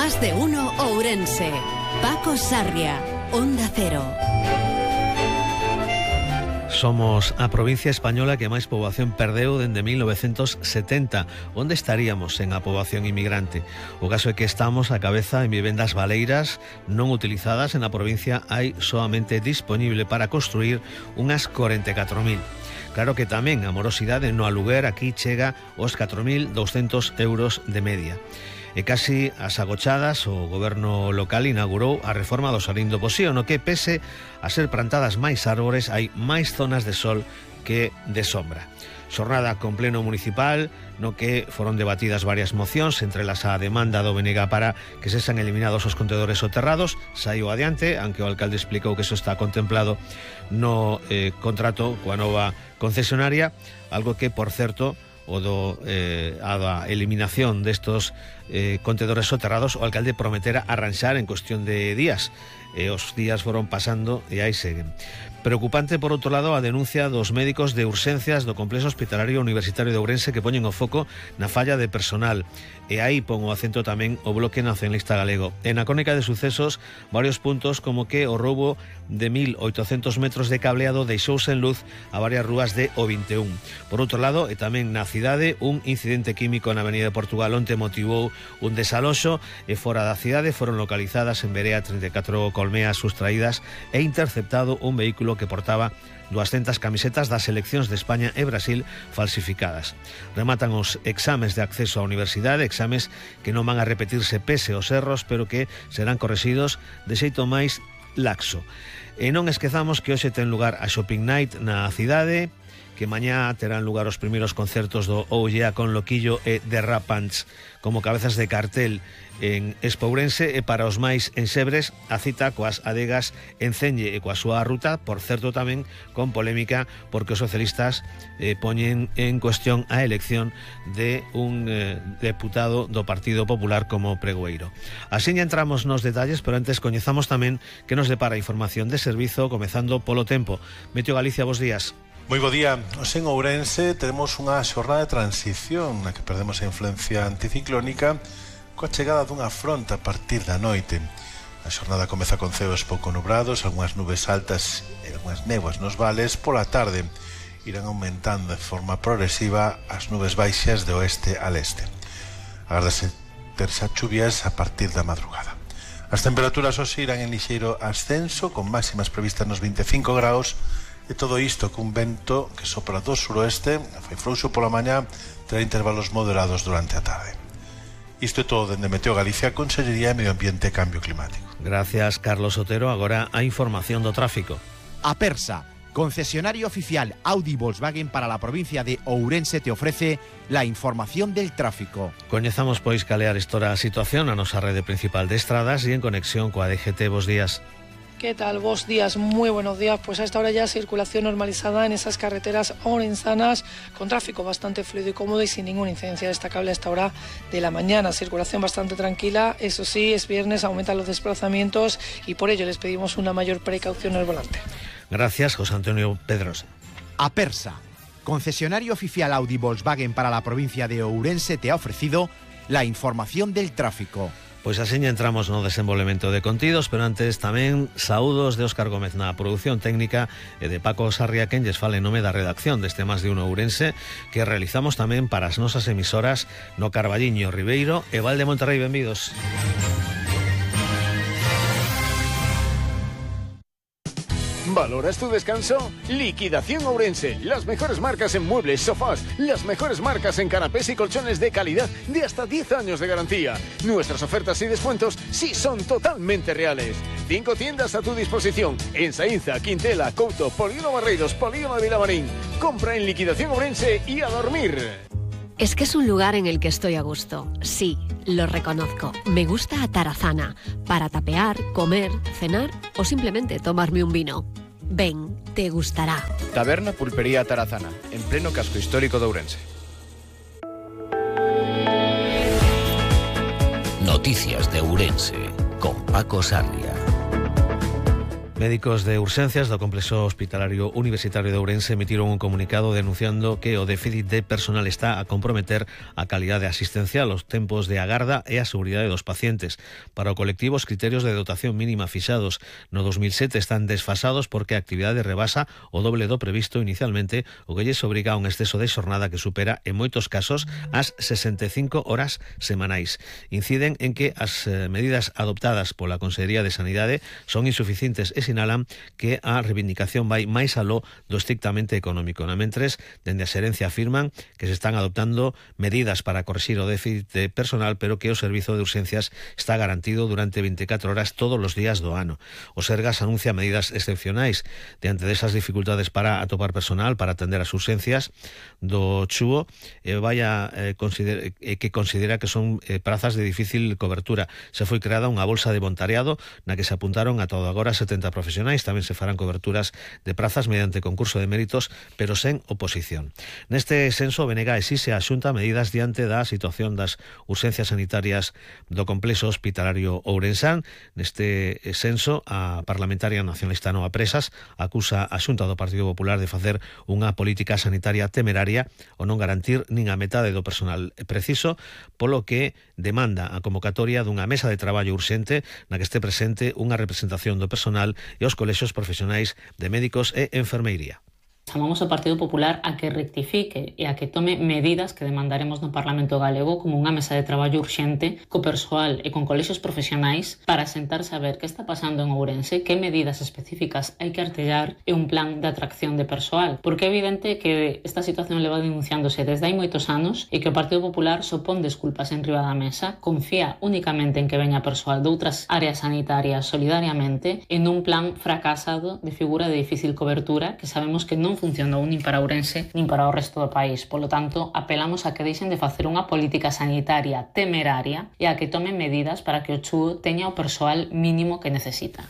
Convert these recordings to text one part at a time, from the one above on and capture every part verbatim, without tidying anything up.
Más de uno Ourense. Paco Sarria, Onda Cero. Somos a provincia española que máis poboación perdeu dende mil novecentos setenta. Onde estaríamos en a poboación inmigrante? O caso é que estamos a cabeza en vivendas baleiras non utilizadas. En a provincia hai soamente disponible para construir unhas corenta e catro mil. Claro que tamén a morosidade no aluguer aquí chega aos catro mil douscentos euros de media. E casi as agochadas, o goberno local inaugurou a reforma do Xardín do Posío, no que, pese a ser plantadas máis árbores, hai máis zonas de sol que de sombra. Xornada con pleno municipal, no que foron debatidas varias mocións, entre las a demanda do B N G para que se sean eliminados os contedores soterrados. Saiu adiante, aunque o alcalde explicou que eso está contemplado no eh, contrato coa nova concesionaria, algo que, por certo, o do, eh, a da eliminación destos eh, contedores soterrados, o alcalde prometera arranxar en cuestión de días. E os días foron pasando e aí seguen. Preocupante, por outro lado, a denuncia dos médicos de urxencias do Complexo Hospitalario Universitario de Ourense, que poñen o foco na falla de personal. E aí pon o acento tamén o Bloque Nacionalista Galego. E na crónica de sucesos, varios puntos como que o roubo de mil oitocentos metros de cableado deixou sen luz a varias rúas de O vinte e un. Por outro lado, e tamén na cidade, un incidente químico na Avenida de Portugal onte motivou un desaloxo, e fora da cidade foron localizadas en Berea trinta e catro colmeas sustraídas e interceptado un vehículo que portaba duascentas camisetas das seleccións de España e Brasil falsificadas. Rematan os exames de acceso á universidade, exames que non van a repetirse pese aos erros, pero que serán correxidos de xeito máis laxo. E non esquezamos que hoxe ten lugar a Shopping Night na cidade, que mañá terán lugar os primeiros concertos do Oullea con Loquillo e The Rapants como cabezas de cartel en Espourense, e para os máis ensebres a cita coas adegas en Celle e coa súa ruta, por certo tamén con polémica, porque os socialistas eh, poñen en cuestión a elección de un eh, deputado do Partido Popular como pregoeiro. Así entramos nos detalles, pero antes coñezamos tamén que nos depara información de servizo, comezando polo tempo. Meteo Galicia, bos días. Moi bo día. Hoxe en Ourense teremos unha xornada de transición na que perdemos a influencia anticiclónica coa chegada dunha fronte a partir da noite. A xornada comeza con ceos pouco nubrados, algunhas nubes altas e algunhas néboas nos vales. Pola tarde irán aumentando de forma progresiva as nubes baixas de oeste a leste. Agárdase terxa chuvias a partir da madrugada. As temperaturas hoxe irán en lixeiro ascenso, con máximas previstas nos vinte e cinco graus, e todo isto cun vento que sopra do suroeste, fai frouxo pola mañá, terá intervalos moderados durante a tarde. Isto é todo dende Meteo Galicia, Consellería de Medio Ambiente e Cambio Climático. Gracias, Carlos Otero. Agora a información do tráfico. Apersa, concesionario oficial Audi Volkswagen para la provincia de Ourense, te ofrece la información del tráfico. Coñezamos pois calear estora a situación a nosa rede principal de estradas e en conexión coa D G T. Bos días. ¿Qué tal? Buenos días, muy buenos días. Pues a esta hora ya circulación normalizada en esas carreteras orensanas, con tráfico bastante fluido y cómodo y sin ninguna incidencia destacable a esta hora de la mañana. Circulación bastante tranquila, eso sí, es viernes, aumentan los desplazamientos y por ello les pedimos una mayor precaución al volante. Gracias, José Antonio Pedrosa. Apersa, concesionario oficial Audi Volkswagen para la provincia de Ourense, te ha ofrecido la información del tráfico. Pois así entramos no desenvolvemento de contidos, pero antes tamén saúdos de Óscar Gómez na produción técnica e de Paco Sarria, quen lles fala en nome da redacción deste Más de Uno Ourense, que realizamos tamén para as nosas emisoras no Carballiño, Ribeiro e Val de Monterrey. Benvidos. ¿Valoras tu descanso? Liquidación Ourense. Las mejores marcas en muebles, sofás, las mejores marcas en canapés y colchones de calidad de hasta diez años de garantía. Nuestras ofertas y descuentos sí son totalmente reales. Cinco tiendas a tu disposición en Saínza, Quintela, Couto, Polígono Barreiros, Polígono de Vilamarín. Compra en Liquidación Ourense y a dormir. Es que es un lugar en el que estoy a gusto. Sí, lo reconozco. Me gusta Atarazana para tapear, comer, cenar o simplemente tomarme un vino. Ven, te gustará. Taberna Pulpería Atarazana, en pleno casco histórico de Ourense. Noticias de Ourense, con Paco Sarria. Médicos de urxencias do Complexo Hospitalario Universitario de Ourense emitiron un comunicado denunciando que o déficit de personal está a comprometer a calidade asistencial, os tempos de agarda e a seguridade dos pacientes. Para o colectivo, os criterios de dotación mínima fixados no dos mil sete están desfasados porque a actividade rebasa o doble do previsto inicialmente, o que lles obriga a un exceso de xornada que supera, en moitos casos, as sesenta e cinco horas semanais. Inciden en que as medidas adoptadas pola Consellería de Sanidade son insuficientes e sinalan que a reivindicación vai máis aló do estrictamente económico. Na mentres, dende a xerencia afirman que se están adoptando medidas para corrixir o déficit de personal, pero que o servizo de urxencias está garantido durante veinticuatro horas todos os días do ano. O Sergas anuncia medidas excepcionais diante desas dificultades para atopar personal para atender as urxencias do Chúo, eh, vaya eh, consider eh, que considera que son eh, prazas de difícil cobertura. Se foi creada unha bolsa de voluntariado na que se apuntaron a todo agora setenta profesionais. Tamén se farán coberturas de prazas mediante concurso de méritos, pero sen oposición. Neste senso, o B N G exixe a Xunta medidas diante da situación das urxencias sanitarias do Complexo Hospitalario ourensán. Neste senso, a parlamentaria nacionalista Noa Presas acusa a Xunta do Partido Popular de facer unha política sanitaria temeraria ou non garantir nin a metade do personal preciso, polo que demanda a convocatoria dunha mesa de traballo urxente na que este presente unha representación do personal e os colexios profesionais de médicos e enfermeiría. Chamamos ao Partido Popular a que rectifique e a que tome medidas que demandaremos no Parlamento Galego, como unha mesa de traballo urxente co persoal e con colexios profesionais para sentarse a ver que está pasando en Ourense, que medidas específicas hai que artellar e un plan de atracción de persoal. Porque é evidente que esta situación leva denunciándose desde hai moitos anos e que o Partido Popular sopón desculpas en riba da mesa, confía únicamente en que veña persoal de outras áreas sanitarias solidariamente en un plan fracasado de figura de difícil cobertura que sabemos que non funcionou nin para Ourense nin para o resto do país. Polo tanto, apelamos a que deixen de facer unha política sanitaria temeraria e a que tomen medidas para que o Chúo teña o persoal mínimo que necesita.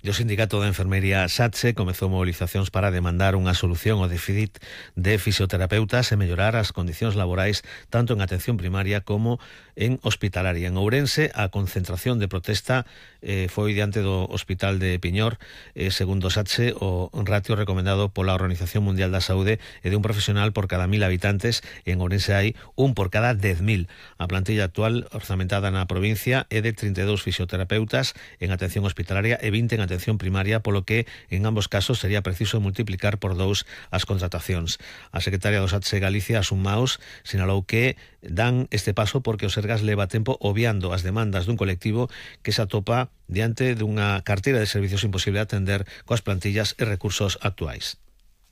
E o Sindicato de Enfermería SATSE comezou mobilizacións para demandar unha solución ao déficit de fisioterapeutas e mellorar as condicións laborais tanto en atención primaria como en hospitalaria. En Ourense, a concentración de protesta eh, foi diante do Hospital de Piñor. Eh, segundo SATSE, o ratio recomendado pola Organización Mundial da Saúde é de un profesional por cada mil habitantes. En Ourense hai un por cada dez mil. A plantilla actual orzamentada na provincia é de trinta e dous fisioterapeutas en atención hospitalaria e vinte en atención atención primaria, polo que en ambos casos sería preciso multiplicar por dous as contratacións. A secretaria do SATSE Galicia, Asun Maus, sinalou que dan este paso porque o Sergas leva tempo obviando as demandas dun colectivo que se atopa diante dunha carteira de servicios imposible de atender coas plantillas e recursos actuais.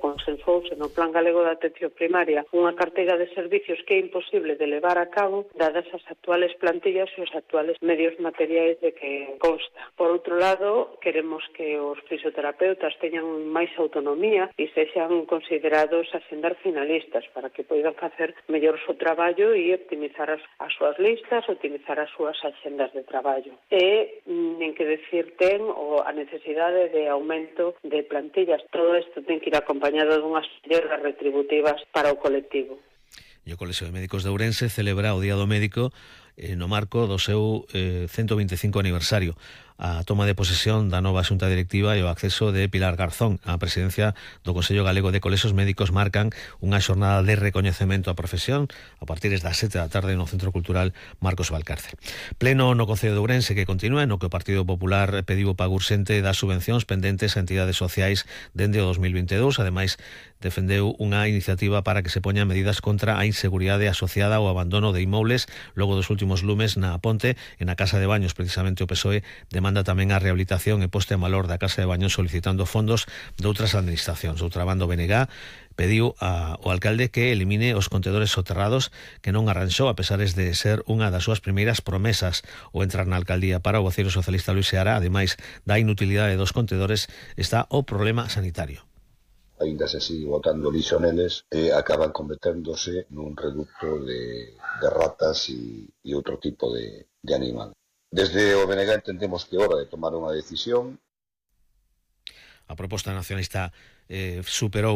Consensouse no Plan Galego de Atención Primaria unha carteira de servicios que é imposible de levar a cabo dadas as actuales plantillas e os actuales medios materiais de que consta. Por outro lado, queremos que os fisioterapeutas teñan máis autonomía e sexan considerados asendar finalistas para que poidan facer mellor o seu traballo e optimizar as, as súas listas, optimizar as súas axendas de traballo. E nin que decir ten o a necesidade de aumento de plantillas. Todo isto ten que ir acompañado dunhas melloras retributivas para o colectivo. E o Colexio de Médicos de Ourense celebra o Día do Médico eh, no marco do seu eh, ciento vinte e cinco aniversario. A toma de posesión da nova xunta directiva e o acceso de Pilar Garzón á presidencia do Consello Galego de Colexios Médicos marcan unha xornada de recoñecemento á profesión a partir das sete da tarde no Centro Cultural Marcos Valcárcel. Pleno no Concello de Ourense que continúa, no que o Partido Popular pediu o pago urxente das subvencións pendentes a entidades sociais dende o dos mil vinte e dous. Ademais, defendeu unha iniciativa para que se poñan medidas contra a inseguridade asociada ao abandono de inmobles logo dos últimos lumes na Ponte e na Casa de Baños. Precisamente o P S O E demanda tamén a rehabilitación e poste en valor da Casa de Baños solicitando fondos de outras administracións. Outra banda, o B N G pediu ao alcalde que elimine os contedores soterrados que non arranxou a pesares de ser unha das súas primeiras promesas ao entrar na alcaldía. Para o voceiro socialista Luis Seara, ademais da inutilidade dos contedores, está o problema sanitario. Ainda se sigue botando lixo neles e acaban converténdose nun reducto de, de ratas e, e outro tipo de, de animal. Desde o B N G entendemos que é hora de tomar unha decisión. A proposta nacionalista eh, superou